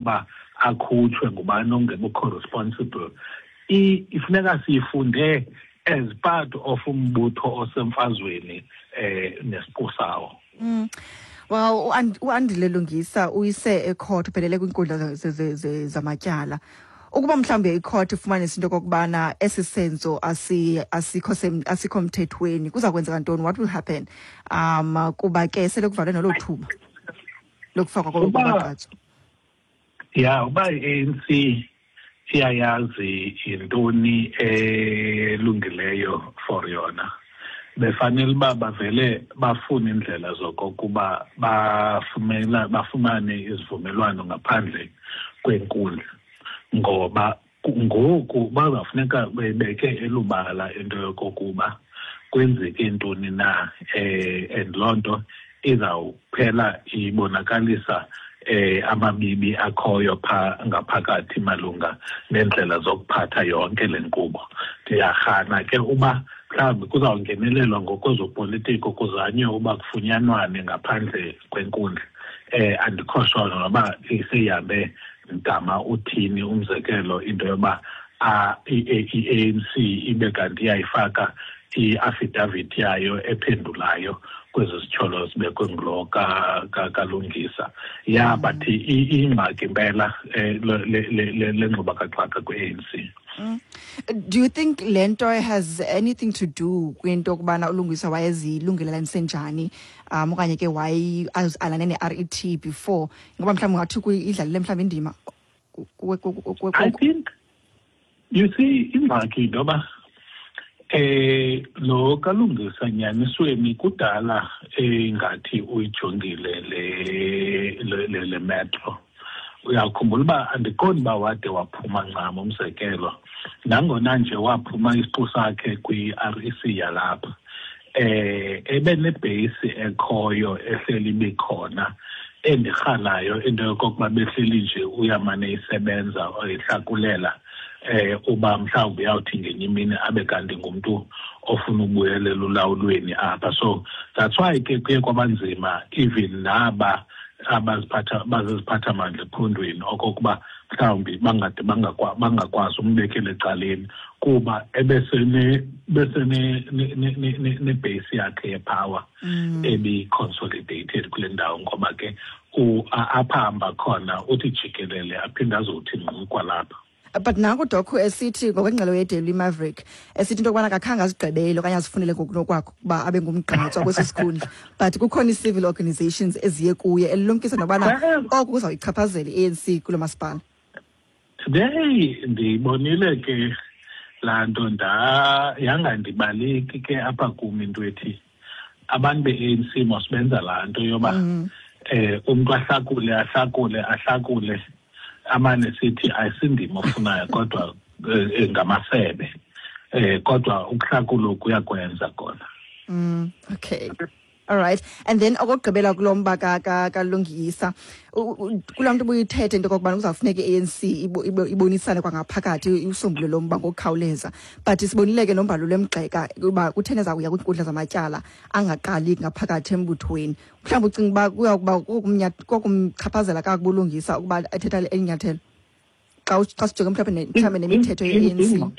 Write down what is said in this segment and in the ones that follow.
Uba akhutshwe ngubani ongekho responsible, ifuneka siyifunde as part of umbutho osemfazweni nesiqu sawo. Well, uAndile Lungisa uyise ecourt, uphelele kwiinkundla zamatyala. Ukuba mhlawumbi icourt ifumanise into okokubana esi senzo asikho mthethweni, kuza kwenzeka ntoni? What will happen? Kuba ke sele kuvalwe nolo thuba lokufakwa kwabagqatswa. Ya, uba i-ANC iyayazi yintoni elungileyo for yona, befanele uba bavele bafune iindlela zokokuba bafumane izivumelwano ngaphandle kwenkundla, ngoba ngoku bazawufuneka bebeke elubala into yokokuba kwenzeke ntoni na, and loo nto izawuphela ibonakalisa amabibi akhoyo pha ngaphakathi malunga nendlela zokuphatha yonke le nkqubo. Ndiyarhana ke uba mhlawumbi kuzawungenelelwa ngokwezopolitiko, kuzanywe uba kufunyanwane ngaphandle kwenkundla. Andikho sure noba seyihambe mgama uthini, umzekelo into yoba i-ANC ibe kanti iyayifaka i-affidavit yayo ephendulayo kwezi zityholo zibekwe ngulo kaLungisa. Ya, but ingxaki impela le ngxubakaxaka kwi-ANC. Do you think le nto has anything to do kwinto yokubana uLungisa wayezilungelelanise njani, okanye ke wayeazalane ne-RET before, ngoba mhlawumbi ungathi idlalile mhlawumbi indima? I think, you see, ingxaki into yoba lo kaLungisa nyanisweni kudala engathi uyijongile le metro. Uyakhumbula uba andiqondi uba wade waphuma ncam, umzekelo nangona nje waphuma isiqu sakhe kwi-REC yalapha, ebenebheyisi ekhoyo ehleli ibikhona, endirhalayo into yokokuba behleli nje uyamane isebenza ihlakulela, uba mhlawumbi uyawuthi ngenye imini abe kanti ngumntu ofuna ubuyelela ulawulweni apha. So that's why ke kuye kwabanzima even naba abaziphatha baziziphathamandla ephondweni okokuba mhlawumbi bangade bangakwazi umbekela ecaleni, kuba ebesene nebase yakhe yepower ebi-consolidated kule ndawo, ngoba ke apha hamba khona uthi jikelele aphinde azothi ngqu kwalapha. But nanku Doc esithi ngokwengxelo yeDaily Maverick, esithi into yokubana akakhange azigqibele okanye azifunele ngokunokwakhe ukuba abe ngumgqatswa kwesi sikhundla, but kukhona ii-civil organizations eziye kuye elilumkisa nokubana oku kuzawuyichaphazela i-ANC kulo masipala. Hey, ndiyibonile ke laa nto, yangandibaleki ke apha kum into ethi abantu be-ANC mos benza laa nto yoba umntu ahlakule, ahlakule, ahlakule, amane sithi ayisindima ofunayo, kodwa ngamasebe, kodwa ukuhlakula kuyakwenza kona. Okay. All right. And then okokugqibela kulo mba kaLungisa, kulaa nto ubuyithethe into okokubana kuzawufuneka i-ANC ibonisane kwangaphakathi usombulule lo mba ngokukhawuleza. But sibonile ke noMbalula emgxeka uba kutheni ezawuya kwiinkundla zamatyala angaqali ngaphakathi embuthweni. Mhlawumbi ucinga uba kuya kuba kokumchaphazela kakubi uLungisa ukuba ethetha eli nyathelo, xa sijonge mhlawumbi nemithetho ye-ANC?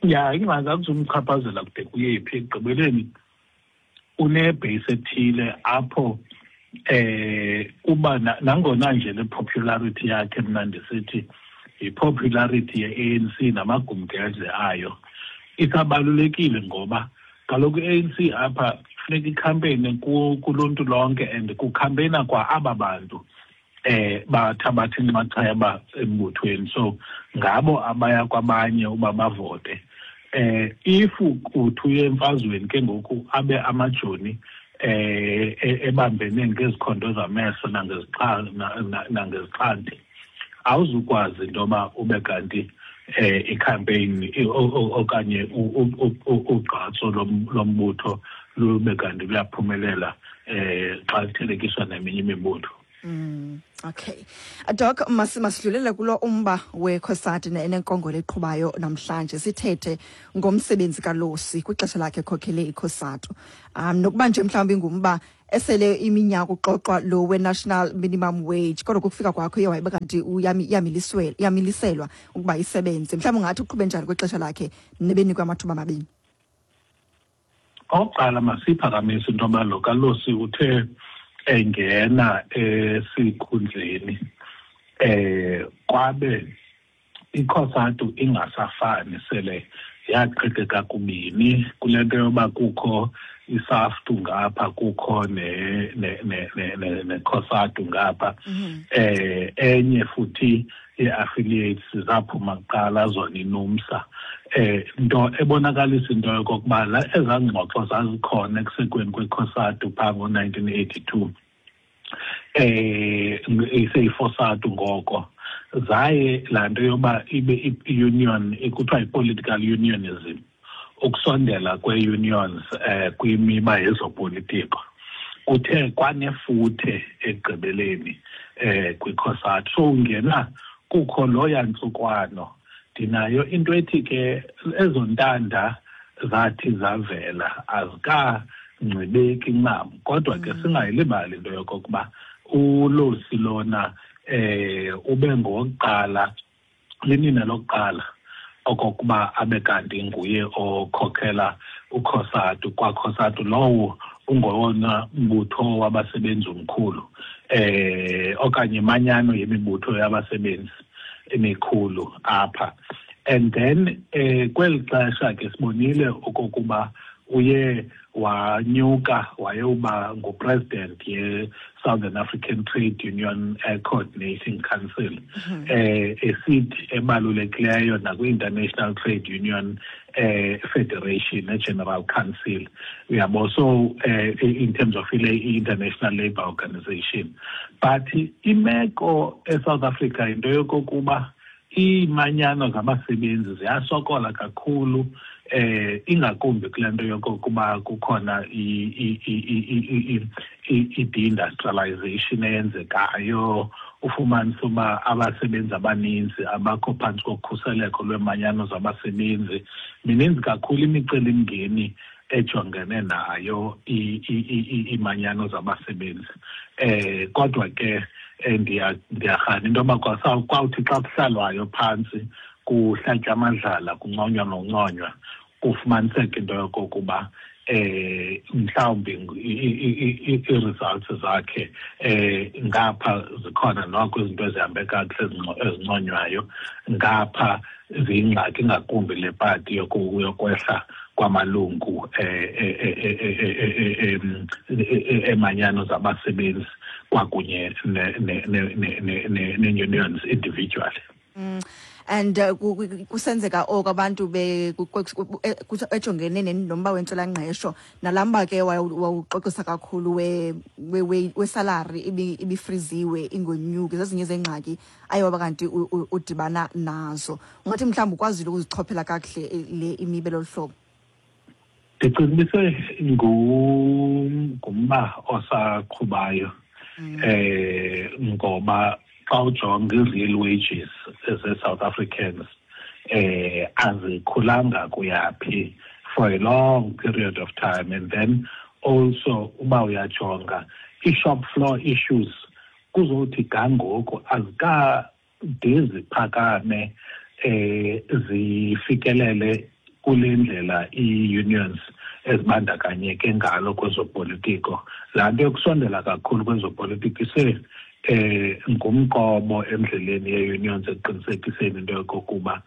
Ya, ingxaki akuzumchaphazela kude kuyephi. Ekugqibeleni unebheyisi ethile apho, uba nangona nje le popularity yakhe, mna ndisithi yi-popularity ye-ANC namagumgedle ayo, isabalulekile, ngoba kaloku i-ANC apha funeka ikhampeyine kuluntu lonke, and kukhampeyina kwa aba bantu bathabatha inxaxheba embuthweni, so ngabo abaya kwabanye uba bavote. If uthi uye emfazweni ke ngoku abe amajoni ebambene ngezikhondo zamehlo nangezixhanti, awuzukwazi into yoba ube kanti icampaign okanye ugqatso lombutho lube kanti luyaphumelela xa kuthelekiswa neminye imibutho. Okay. Doc, masidlulele kulo umba weCOSATU nenkongolo eqhubayo namhlanje, sithethe ngomsebenzi kaLosi kwixesha lakhe ekhokhele iCOSATU. Nokuba nje mhlawumbi ngumba esele iminyaka uxoxwa lo we-national minimum wage, kodwa kukufika kwakho iye wayiba kanti iyamiliselwa ukuba isebenze. Mhlawumbi ungathi uqhube njani kwixesha lakhe nebenikwe amathuba amabini? Okokuqala masiyiphakamise into yoba lo kaLosi uthe engena esikhundleni kwabe iCOSATU ingasafani, sele yaqhekeka kubini kule nto yoba kukho iSAFTU ngapha, kukho neCOSATU ngapha. Enye futhi ye-affiliates zaphuma kuqala zona iNUMSA, nto ebonakalisa into yokokuba ezaa ngxoxo zazikhona ekusekweni kweCOSATU phaa ngo-1982, iseyiFOSATU ngoko, zaye laa nto yoba ibe i-union kuthiwa yi-political unionism, ukusondela kwe-unions kwimiba yezopolitiko kuthe kwanefuthe ekugqibeleni kwiCOSATU. So ungena kukho lo yantlukwano. Ndinayo into ethi ke ezo ntanda zathi zavela azikangcibeki ncam, kodwa ke singayilibali into yokokuba uLosi lona ube ngowokuqala, linina lokuqala okokuba abe kanti nguye okhokhela uCOSATU. KwaCOSATU lowo ungowona mbutho wabasebenzi omkhulu, okanye imanyano yemibutho yabasebenzi emikhulu apha. And then kweli xesha ke sibonile okokuba uye wanyuka wayewuba ngupresident ye-Southern African Trade Union Coordinating Council, esithi ebalulekileyo nakwi-International Trade Union Federation, e-General Council, uyabo. So in terms of i-International Labour Organization. But imeko eSouth Africa into yokokuba iimanyano zabasebenzi ziyasokola kakhulu, ingakumbi kule nto yokokuba kukhona i-deindustrialization eyenzekayo, ufumanise uba abasebenzi abaninzi abakho phantsi kokhuseleko lweemanyano zabasebenzi. Mininzi kakhulu imicelimngeni ejongene nayo iimanyano zabasebenzi. Kodwa ke ndiyarhana into yoba kwawuthi xa kuhlalwayo phantsi kuhlatywa amadlala, kunconywa nonconywa, kufumaniseke into yokokuba mhlawumbi ii-results zakhe ngapha zikhona noko izinto ezihambe kakuhle ezinconywayo, ngapha ziyingxaki ngakumbi le pati yokwehla kwamalungu emanyano zabasebenzi kwakunye ne-unions individually. And kusenzeka oko abantu ejongene nomba wentswelangqesho, nalaa mba ke wawuxoxisa kakhulu wesalary ibifriziwe ingonyuki, zezinye zeengxaki aye waba kanti udibana nazo. Ungathi mhlawumbi ukwazile ukuzichophela kakuhle le imiba lolu hlobo? Ndicinga ibise ngumba osaqhubayo, ngoba xa ujonga i-real wages ze-South Africans azikhulanga kuyaphi for a long period of time. And then also uba uyajonga i-shop floor issues, kuzothi gangoku azikade ziphakame zifikelele kule ndlela ii-unions ezibandakanyeke ngalo kwezopolitiko. Laa nto yokusondela kakhulu kwezopolitiko ise ngumqobo endleleni ye-unions ekuqinisekiseni into yokokuba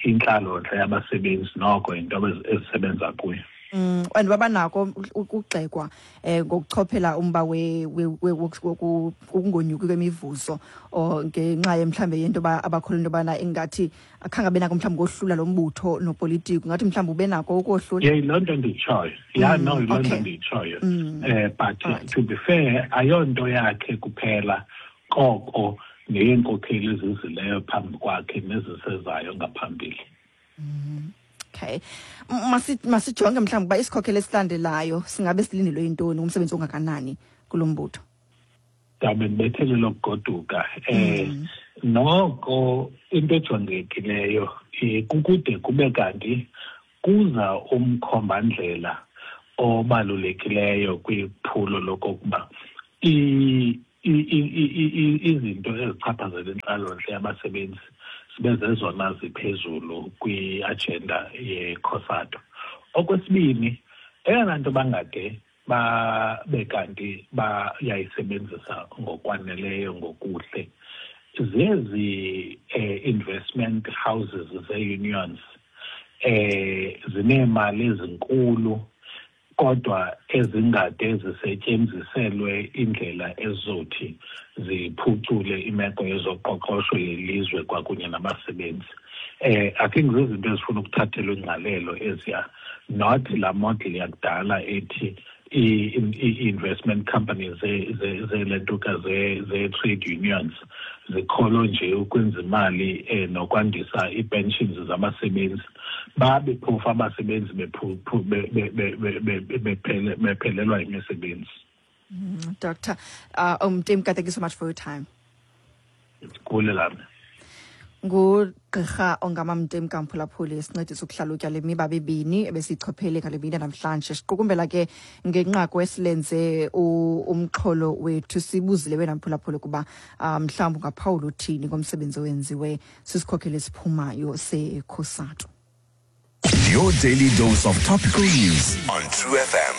intlalontle yabasebenzi noko yinto ezisebenza kuyo. And babanako ukugxekwa ngokuchophela umba wokungonyuki kwemivuzo, or ngenxa ye mhlambe yento yoba abakholwa into yobana ingathi akhange abe nako mhlawumbi kohlula lo mbutho nopolitiko. Ngathi mhlawumbi ube nako ukohlula. Yeah, yiloo nto ndiyitshoyo. Yeah, no, yiloo nto ndiyitshoyo. But to be fair, ayonto yakhe kuphela, koko neyeenkokheli ezizileyo phambi kwakhe nezisezayo ngaphambili. Okay. Masijonge mhlawumbi uba isikhokhelo esilandelayo singabe silindelwe yintoni, umsebenzi ongakanani kulo mbutho? Ndabe ndibethelele ukugoduka. Noko into ejongekileyo kukude kube kanti kuza umkhombandlela obalulekileyo kwiphulo lokokuba izinto ezichaphazela intlalontle yabasebenzi zibe zezona ziphezulu kwi-agenda yeCOSATU. Okwesibini, eyona nto bangade babe kanti bayayisebenzisa ngokwaneleyo ngokuhle zezi investment houses ze-unions, zineemali ezinkulu kodwa ezingade zisetyenziselwe indlela ezizothi ziphucule imeko yezoqoqosho yelizwe kwakunye nabasebenzi. I think zizinto ezifuna ukuthathelwa ingqalelo eziya, not laa model yakudala ethi i-investment companies zelentuka ze-trade unions zikholo nje ukwenza imali nokwandisa ii-pensions zabasebenzi, babe phofu abasebenzi bephelelwa imisebenzi. Dr. Mtimka, thank you so much for your time. Kulelami. Ngugqirha Ongama Mtimka, mphulaphuli, sincedisa ukuhlalutya le miba mibini ebesiyichophele ngale mini namhlanje. Siqukumbela ke ngenqaku esilenze umxholo wethu. Sibuzile wena mphulaphuli ukuba mhlawumbi ungaphawula uthini ngomsebenzi owenziwe sisikhokhelo esiphumayo seCOSATU. Your daily dose of topical news on True FM.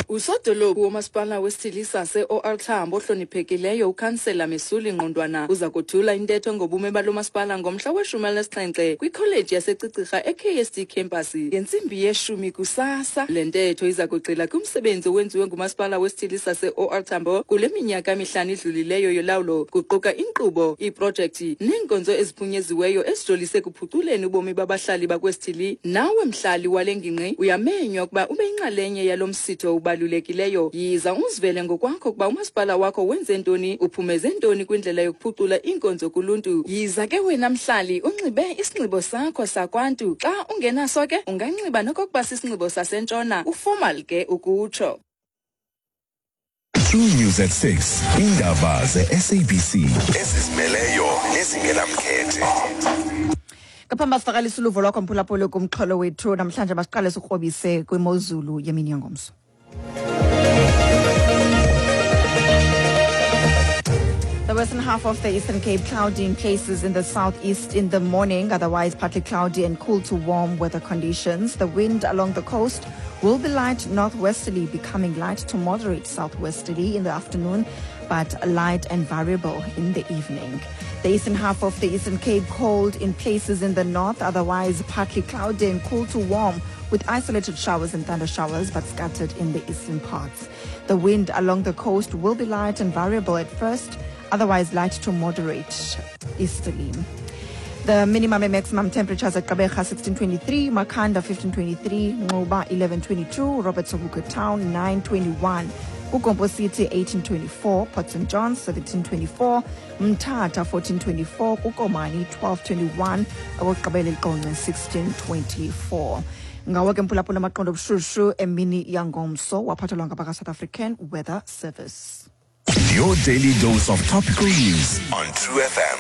Usodolophu womasipala wesithili sase-OR Tambo ohloniphekileyo ukhansela Mesuli Ngqondwana uza kuthula intetho ngobume balo masipala ngomhla we-17 kwikholeji yaseCicirha e-KSD campus ngentsimbi yeshumi kusasa. Le ntetho iza kugxila kumsebenzi owenziwe ngumasipala wesithili sase-OR Tambo kule minyaka mihlanu idlulileyo yolawulo, kuquka inkqubo, iiprojekthi neenkonzo eziphunyeziweyo ezijolise ekuphuculeni ubomi babahlali bakwesithili. Nawe mhlali wale ngingqi uyamenywa ukuba ube yinxalenye yalo msitho ubalulekileyo. Yiza uzivele ngokwakho ukuba umasipala wakho wenze ntoni, uphumeze ntoni kwindlela yokuphucula iinkonzo kuluntu. Yiza ke wena mhlali unxibe isinxibo sakho sakwantu. Xa ungenaso ke unganxiba nokokuba sisinxibo sasentshona, uformal ke ukutsho. True News at 6. Indaba ze-SABC ezizimeleyo nezingenamkhethe. Ngaphambi basivakalisa uluvo lwakho mphulaphuli kumxholo wethu namhlanje, masiqale sikrobise kwimozulu yemini yangomso. The western half of the Eastern Cape cloudy in places in the southeast in the morning, otherwise partly cloudy and cool to warm weather conditions. The wind along the coast will be light northwesterly, becoming light to moderate southwesterly in the afternoon, but light and variable in the evening. The eastern half of the Eastern Cape cold in places in the north, otherwise partly cloudy and cool to warm with isolated showers and thunder showers, but scattered in the eastern parts. The wind along the coast will be light and variable at first, otherwise light to moderate easterly. The minimum and maximum temperatures at Gqeberha 1623, Makhanda 1523, Nxuba 1122, Robert Sobukwe Town 921, KuGompo City 1824, Port St. John's 1724, Mthatha 1424, kuKomani 1221, okokugqibela eQonce 1624. Ngawo ke mphulaphula amaqondo obushushu emini yangomso, waphathelwa ngabaka-South African Weather Service. Your daily dose of topical news on True FM.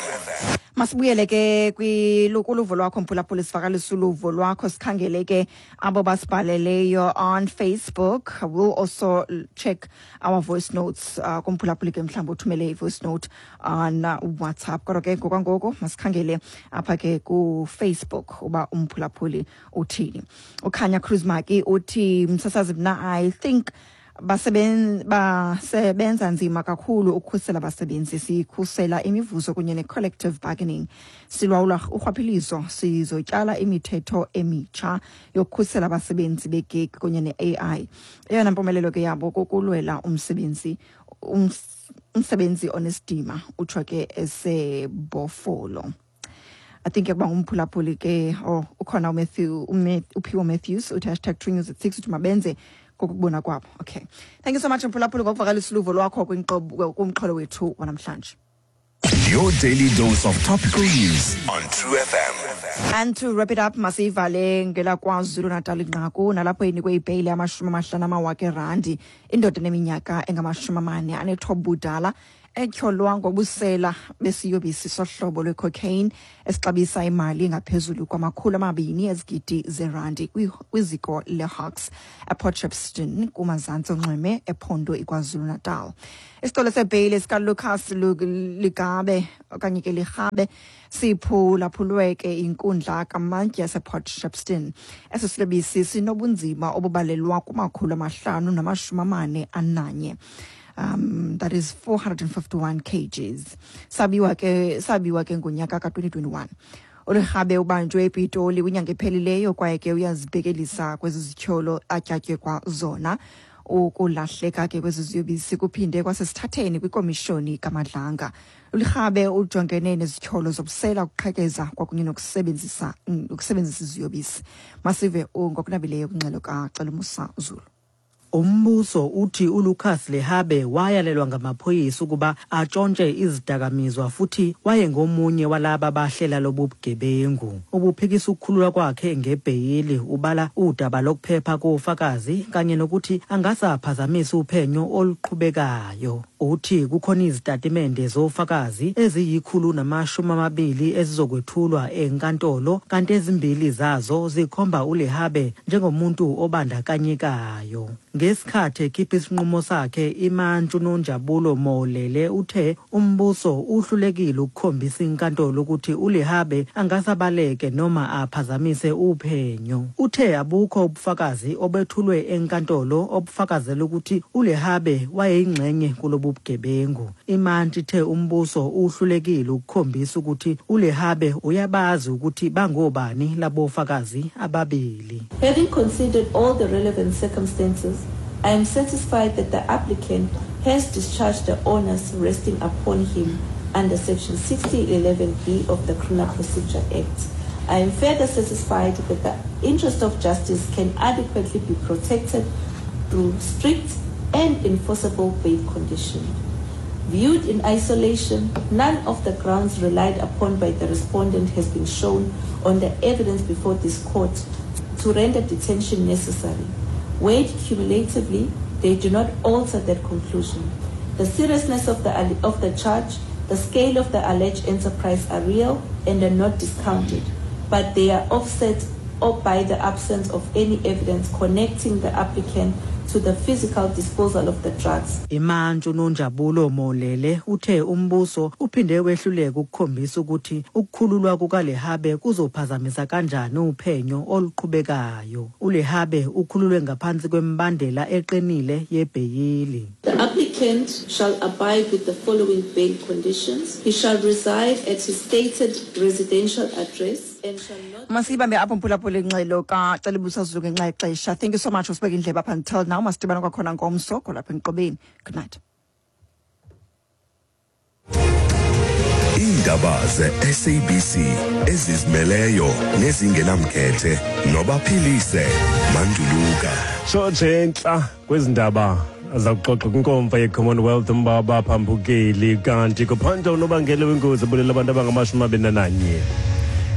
Masibuyele ke kuluvo lwakho mphulaphula, sivakalisa uluvo lwakho, sikhangele ke abo basibhaleleyo on Facebook. We'll also check our voice notes kumphulaphuli ke mhlawumbi uthumele i-voice note on WhatsApp. Kodwa ke ngokwangoku masikhangele apha ke kuFacebook uba umphulaphuli uthini. Ukhanya Cruz Maki uthi, "Msasazi, mna I think basebenza nzima kakhulu ukukhusela abasebenzi. Sikhusela imivuzo kunye ne-collective bargaining, silawula urhwaphilizo, sizotyala imithetho emitsha yokukhusela abasebenzi begig kunye ne-AI. Eyona mpumelelo ke yabo kukulwela umsebenzi onesidima." Utsho ke eseBhofolo. I think yakuba ngumphulaphuli ke. Oh, ukhona uMatthew, uPhiwo Matthews uthi #TrueNews at 6, uthi mabenze ngokubona kwabo. Okay, thank you so much mphulaphuli ngokuvakalisa uluvo lwakho kumxholo wethu wanamhlanje. Your daily dose of topical news on True FM. And to wrap it up, masivale ngelakwaZulu Natal inqaku nalapho inikwe ibheyile yama-50 amawaka erandi indoda eneminyaka engama-49 budala. Etyholwa ngobusela besiyobisi sohlobo lwecocaine esixabisa imali engaphezulu kwama-200 ezigidi zerandi kwiziko leHawks ePort Shepstone kumazantsi onxweme ephondo iKwaZulu-Natal. Isicelo sebheyile sikaLucas Ligabe okanye ke Lirhabe siphulaphulwe ke inkundla kamantyi yasePort Shepstone. Esi silebisi sinobunzima obubalelwa kuma-541, that is 451 kgs. Sabiwa ke ngonyaka ka-2021. ULirhabe ubanjwe ePitoli kwinyanga ephelileyo kwaye ke uyazibhekelisa kwezi zityholo atyatyekwa zona. Ukulahleka ke kwezi ziyobisi kuphinde kwasesithatheni kwikomishoni kaMadlanga. ULirhabe ujongene nezityholo zobusela, ukuqhekeza kwakunye nokusebenzisa ukusebenzisa iziyobisi. Masive ngokunabileyo kwingxelo kaCelumusa Zulu. Umbuso uthi uLucas Lehabe wayalelwa ngamaphoyisa ukuba atshontshe izidakamizwa futhi wayengomunye walaba bahlela lobu bugebengu. Ubuphikisa ukukhululwa kwakhe ngebheyili, ubala udaba lokuphepha kofakazi kanye nokuthi angasaphazamisa uphenyo oluqhubekayo. Uthi kukhona izitatimende zofakazi eziyi-120 ezizokwethulwa enkantolo, kanti ezimbili zazo zikhomba uLehabe njengomuntu obandakanyekayo. Ngesikhathi ekhipha isinqumo sakhe, imantshi uNonjabulo Molele uthe umbuso uhlulekile ukukhombisa inkantolo ukuthi uLehabe angasabaleke noma aphazamise uphenyo. Uthe abukho ubufakazi obethulwe enkantolo obufakazela ukuthi uLehabe wayeyingxenye kulobu bugebengu. Imantshi ithe umbuso uhlulekile ukukhombisa ukuthi uLehabe uyabazi ukuthi bangobani labofakazi ababili. Having considered all the relevant circumstances, I am satisfied that the applicant has discharged the onus resting upon him under Section 6011B of the Criminal Procedure Act. I am further satisfied that the interest of justice can adequately be protected through strict and enforceable bail condition. Viewed in isolation, none of the grounds relied upon by the respondent has been shown on the evidence before this court to render detention necessary. Weighed cumulatively, they do not alter that conclusion. The seriousness of the charge, the scale of the alleged enterprise are real and are not discounted, but they are offset or by the absence of any evidence connecting the applicant to the physical disposal of the drugs. Imantshi uNonjabulo Molele uthe umbuso uphinde wehluleka ukukhombisa ukuthi ukukhululwa kukaLehabe kuzophazamisa kanjani uphenyo oluqhubekayo. ULehabe ukhululwe ngaphansi kwemibandela eqinile yebheyili. The applicant shall abide with the following bail conditions. He shall reside at his stated residential address and shall not Masiyibambe apho, mphulaphula, ingxelo kaCelibusa Zulu ngenxa yexesha. Thank you so much usibeka indlebe up until now. Masidibane kwakhona ngomso kwalapha enkqubeni. Good night. Iindaba ze-SABC ezizimeleyo nezingenamkhethe nobaphilise Manduluka. Shotshe entla kwezi ndaba aza kuxoxa kwinkomfa ye-Commonwealth umba baphambukeli, kanti kuphanda unobangela wengozi ebulela abantu abangama-21.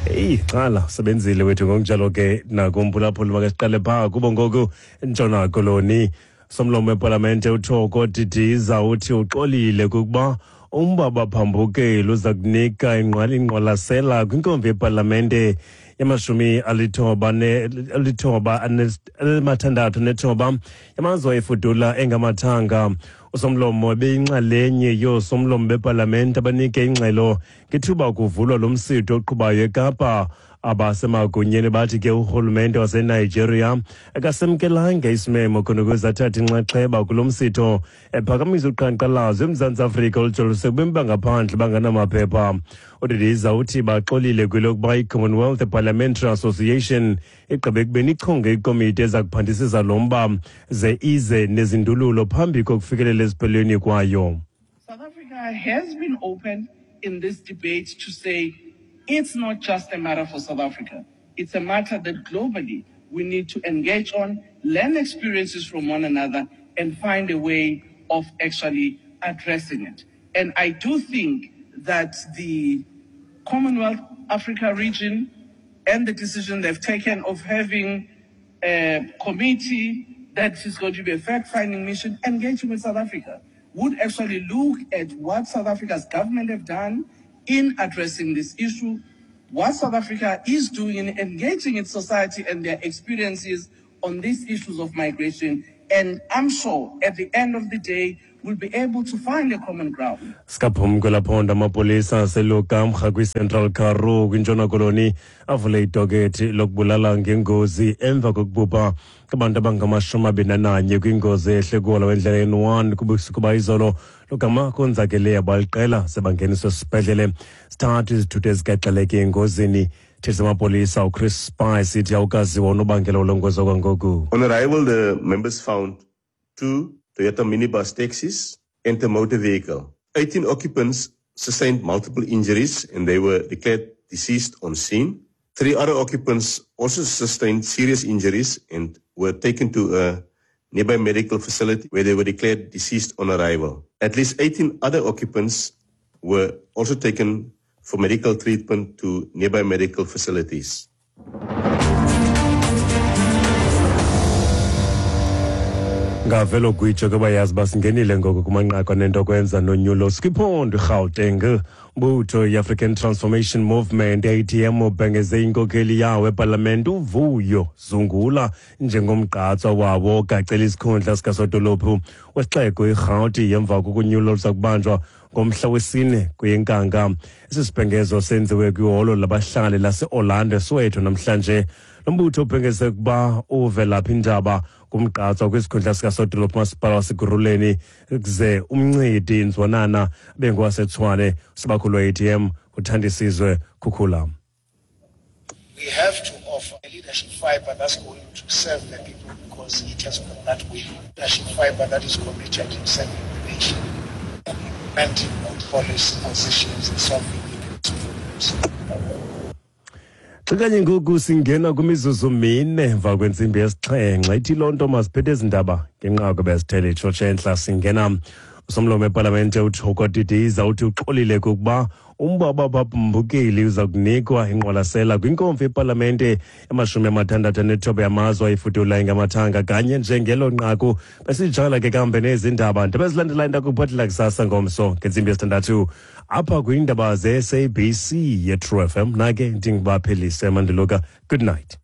Eyi, xala usebenzile wethu ngokunjalo ke nakumphulaphuli. Makasiqale phaa kubo ngoku. Ntshona Koloni, somlomo wepalamente uThoko Didiza uthi uxolile kukuba umba baphambukeli uza kunika ingqwalasela kwinkomfa yepalamente yama-96 yamazwe efudula engamathanga. Usomlomo ebeyinxalenye yoosomlomo bepalamente abanike ingxelo ngethuba kuvulwa lo msitho oqhubayo eKapa. Abasemagunyeni bathi ke urhulumente waseNigeria akasemkelanga isimemo khona ukuze athathe inxaxheba kulo msitho, ephakamisa uqhankqalazo eMzantsi Afrika olujolise kubemi bangaphandle banganamaphepha. UDidiza uthi baxolile kwelokuba i-Commonwealth Parliamentary Association igqibe ekubeni ichonge ikomiti eza kuphandisisa lo mba ze ize nezindululo phambi kokufikelela eziphelweni kwayo. South Africa has been open in this debate to say it's not just a matter for South Africa. It's a matter that globally we need to engage on, learn experiences from one another, and find a way of actually addressing it. And I do think that the Commonwealth Africa region and the decision they've taken of having a committee that is going to be a fact-finding mission engaging with South Africa. would actually look at what South Africa's government have done in addressing this issue, what South Africa is doing in engaging its society and their experiences on these issues of migration. And I'm sure at the end of the day, we'll be able to find a common ground. Sikaphumi kwelaphondo, amapolisa aseLukamha kwiCentral Karoo kwiNtshona Koloni avule idokethi lokubulala ngengozi emva kokubhubha kubantu abangama-21 kwingozi ehle kuhola wendlela N1 kubusuku bayizolo, logama konzakele abaliqela sebangeniswe esibhedlele. Sithathu izithuthi ezigaxeleke engozini. Thisa amapolisa uChris Spice ithi awukaziwa unobangela wolo kwangoku. On arrival, the members found two Toyota minibus taxis and a motor vehicle. 18 occupants sustained multiple injuries and they were declared deceased on scene. Three other occupants also sustained serious injuries and were taken to a nearby medical facility where they were declared deceased on arrival. At least 18 other occupants were also taken for medical treatment to nearby medical facilities. Ngavelo gwitsho ke, bayazi uba singenile ngoku kumanqaku anento kwenza nonyulo. Sikwiphondo iRhawuteng, mbutho i-African Transformation Movement, ATM, ubhengeze inkokeli yawo epalamente uVuyo Zungula njengomgqatswa wawo ogacela isikhundla sikasodolophu wesixeko iRhawuti emva kokunyulo oluza kubanjwa ngomhla wesine kweyeNkanga. Esi sibhengezo senziwe kwiholo labahlali lase-Orlando eSoweto namhlanje. Lo mbutho ubhengeze ukuba uVelaphi Ndaba kumgqatswa kwisikhundla sikasodolophu masipala waseKurhuleni, kuze uMncedi Nzwanana bengowaseTshwane. Sibakhulu we-ATM uThandisizwe Khukhula. We have to offer a leadership fiber that's going to serve the people because it has got that will. Leadership fiber that is committed in serving the nation and implementing good policy positions and solving people's problems. Xa kanye ngoku singena kwimizuzu 4 emva kwentsimbi yesixhenxe, ithi loo nto masiphethe ezi ndaba ngenqaku bezithele itshotshe entla. Singena usomlomo epalamente uThoko Didiza uthi uxolile kukuba umba babambukeli uza kunikwa ingqwalasela kwinkomfa yepalamente yama-69 yamazwe ayifudula ingamathanga. Kanye njengelo nqaku besijala ke kambe nezi ndaba ndaba ezilandelayo ndakuphathela kusasa ngomso ngentsimbi yesithandathu apha kwiindaba ze-SABC ye-True FM. Nake ndingibaphelise mandiluka. Good night.